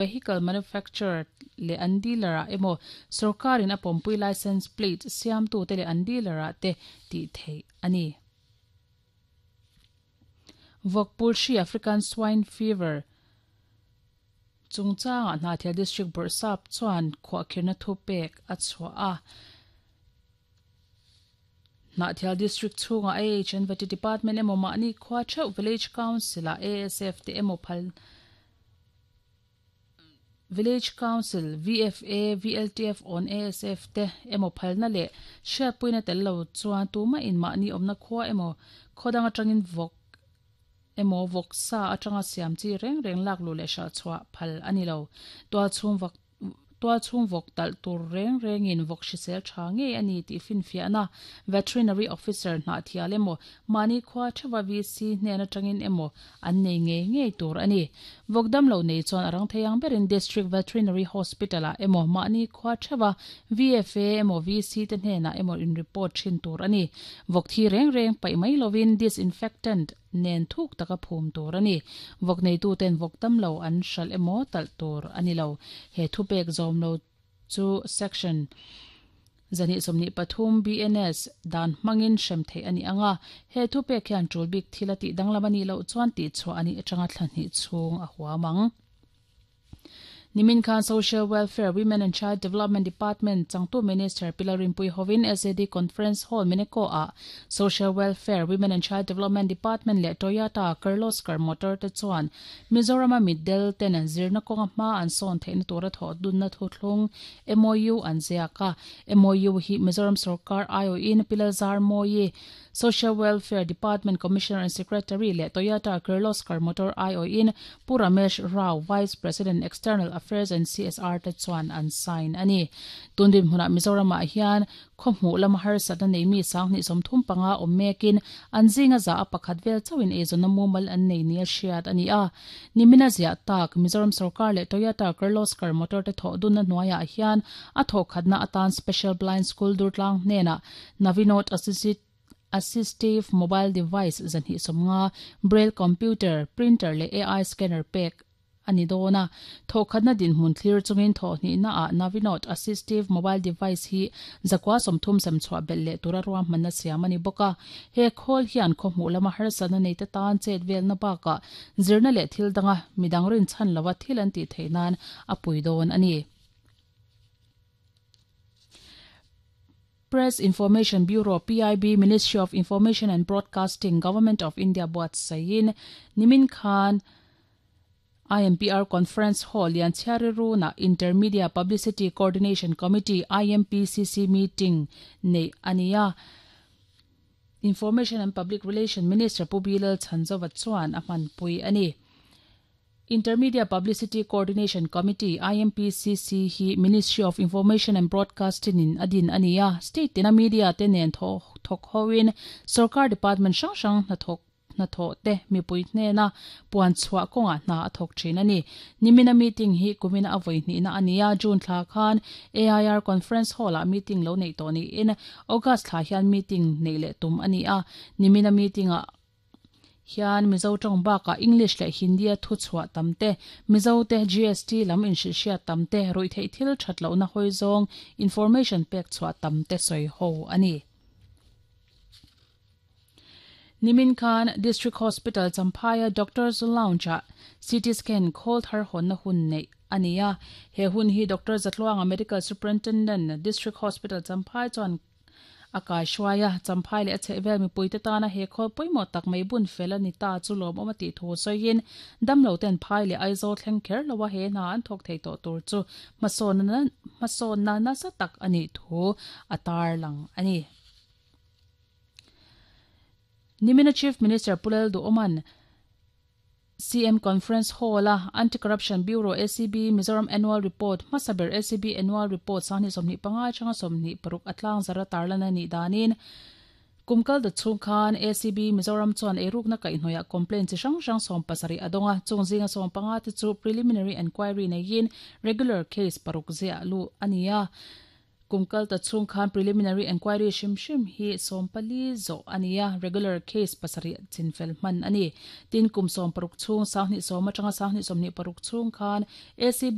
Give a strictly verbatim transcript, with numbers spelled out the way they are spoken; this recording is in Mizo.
Vehicle manufacturer leh an dealer ah emaw sorkarin a pawmpui license plate siamtu te leh an dealer ah te tih theih a ni. Vawkpul hri African Swine Fever chungchangah Hnahthial District Bawrhsap chuan khuahkhirhna thupek a chhuah a. Hnahthial District chhungah A H and Vety Department emaw mahni khua theuh Village Council ah A S F te emaw phal Village Council, V F A, V L T F on A S F te emaw phalna leh hriatpuina tel lo chuan tumah in mahni awmna khua emaw khawdang atangin vawk emaw vawk sa atanga siam chi reng reng lak lu leh hral chhuah phal ani lo. Tual chhung vawk tual chhung vawk talh tur reng rengin vawk hrisel tha nge ani tih finfiahna veterinary officer Hnahthial emaw mahni khua thewa V C hnen atangin emaw an nei nge nge tur ani. Vawk dam lo nei chuan arang theiang berin District Veterinary Hospital ah emaw mahni khua thewa V F A emaw V C te hnenah emaw in report thin tur ani. Vawk thi reng reng pai mai lovin disinfectant nen thuk taka phum tur ani. Vawk nei tu ten vawk tam lo an hral emaw talh tur ani lo. He thupek zawm lo chu section zani somni pathum B N S dan mangin hrem thei ani anga. He thupek hian tul bik thil ati danglam ani lo chuan ti chu ani atanga thlahni chhung a huamang. Nimin Khan Social Welfare, Women and Child Development Department Changtu Minister Pilarin Pui Hovin S A D Conference Hall Mineko a Social Welfare, Women and Child Development Department le Toyota Kirloskar Motor te chuan Mizoram middle ten zirna konga ma an son thein tura tho dunna thuthlung M O U an ziaka. M O U hi Mizoram Sarkar I O in Pilazar Moyi Social Welfare Department Commissioner and Secretary le Toyota Kirloskar Motor I O in Pu Ramesh Rao Vice President External Affairs and C S R te chuan an sign ani. Tundin huna Mizoram ah hian khawhmuh lama harsatna nei mi sanghnih sawmthum panga awm mekin an zinga za a pakhat vel chauhin eizawnna mumal an nei nia hriat ani a. Nimina ziah tak Mizoram Sarkar leh Toyota Kirloskar Motor te thawh dunna hnuaiah hian a thawhkhatna atan Special Blind School Durtlang hnenah Navinot Assisted Assistive Mobile Device zanhi sawmnga Braille Computer Printer leh A I Scanner pek ani dona. Thawhkhatna dinhmun thlir chungin thawhhnih na ah Navinot Assistive Mobile Device hi zakwa sawmthum sem chhuah belh leh tura ruahmanna siam ani bawk a. He khawl hian khawhmuh lama harsatna nei te tan chet velna bakah zirna leh thil danga midang rin chhan lova thil an tih theih nan a pui dawn ani. Press Information Bureau P I B Ministry of Information and Broadcasting Government of India buatsain Nimin Khan I M P R Conference Hall lian chhiari na Intermedia Publicity Coordination Committee I M P C C meeting nei ania. Information and Public Relation Minister Pu Bilal Chanzova chuan a hmanpui ani. Intermedia Publicity Coordination Committee I M P C C hi Ministry of Information and Broadcasting in adin ania. State tina media te nen tho thok hoin Sarkar Department hrang hrang na thok na tho te mipui hnena puan chhuah kawnga hna a thawk thin ani. Nimina meeting hi kumina avoi hnih na ania. June thla khan A I R Conference Hall ah meeting lo nei tawh niin August thla hian meeting nei leh tum ani a. Nimina meeting ah hian Mizo tawng bakah English leh Hindi a thu chhuah tam te Mizo te G S T lam inhrilhhriat tam te ruih theih thil that lohna hawi zawng information pek chhuah tam te sawi ho ani. Nimin Khan District Hospital Champhai Doctors Lounge ah C T scan khawl thar hawnna hun nei ania. He hun hi Doctor Zatluanga Medical Superintendent District Hospital Champhai chuan a kai hruaia Champhai leh a chhehvel mipui te tana he khawl pawimawh tak mai bun fel ani ta chu lawm awm a tih thu sawiin damlo ten phai leh Aizawl thleng kher lowa he hna an thawk thei tawh tur chu hmasawnna hmasawnna nasa tak ani thu a tar lang ani. Nimina Chief Minister Pulel Duoman C M Conference Hall a Anti-Corruption Bureau A C B Mizoram Annual Report Hmasaber A C B Annual Report sanghnih sawmhnih panga atanga sawmhnih paruk atlang zara tarlana ni danin kumkal da chhung khan A C B Mizoram chuan eirukna kaihhnawih complaint chi hrang hrang sawm pasarih adonga chung zinga sawm panga te chu preliminary enquiry neiin regular case paruk ziah lu ania. Kum kal ta chhung khan preliminary enquiry hrim hrim hi sawm pali zawh a ni a, regular case pasarih chinfel hman a ni. Tin, kum sawm paruk chhung, sanghnih sawm atanga sanghnih sawmhnih paruk chhung khan A C B